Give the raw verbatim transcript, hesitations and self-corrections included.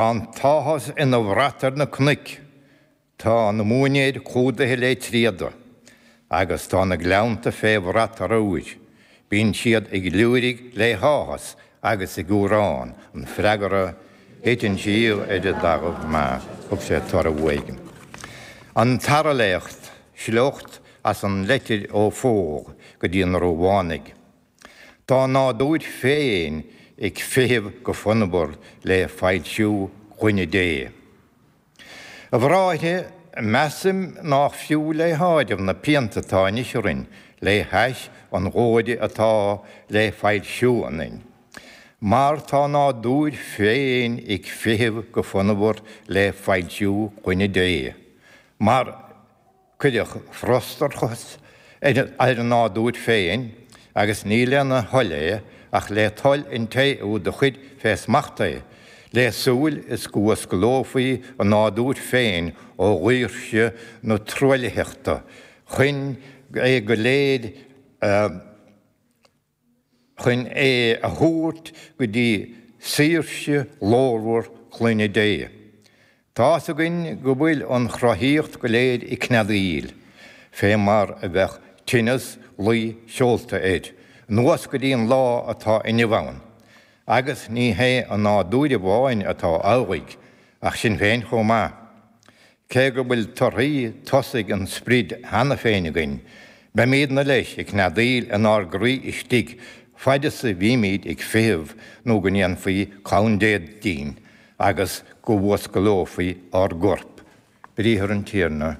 Tá an t-áthas ina bhrat ar na cnoic, tá na móinéir clúdaithe le tréada, agus tá na gleannta fé bhrat arbhair, bíonn siad ag liúirigh le háthas agus ag amhrán, an freagra, Thit an síol ar an dtalamh maith, thug sé toradh éigin. An tAra Léacht, sliocht as an leitir ó Phól go dtí na Rómhánaigh. Tá a nádúr féin ag feitheamh go fonnmhar le foilsiú chlainne Dé. A bhráithre, measaim nách fiú le háireamh na pianta atá anois orainn le hais an ghlóire atá le foilsiú ionainn. Mar tá a nádúr féin ag feitheamh go fonnmhar le foilsiú clainne Dé. Mar cuireadh frustrachas ar a nádúr féin, agus ní lena thoil é, ach le toil an té úd a chuir fé smacht é, le súil is go bhfuasclófaí a nádúr féin ó dhaoirse na truaillitheachta, chun é go léir a chun é a thabhairt go dtí saoirse ghlórmhar clainne Dé. Tá's againn go bhfuil an chruthaíocht go léir ag cneadaíl, fé mar a bheadh tinneas luí seolta air, anuas go dtí an lá atá inniu ann. Agus ní hé an nádúr amháin atá amhlaidh, ach sinn féin chomh maith. Cé go bhfuil torthaí tosaigh an Sprid cheana féin againn, beimídne leis ag cneadaíl inár gcroí istigh faid is a bhímid ag feitheamh nó go ndéanfaí clann Dé dínn agus go bhfuasclófaí ár gcorp. Briathar an Tiarna.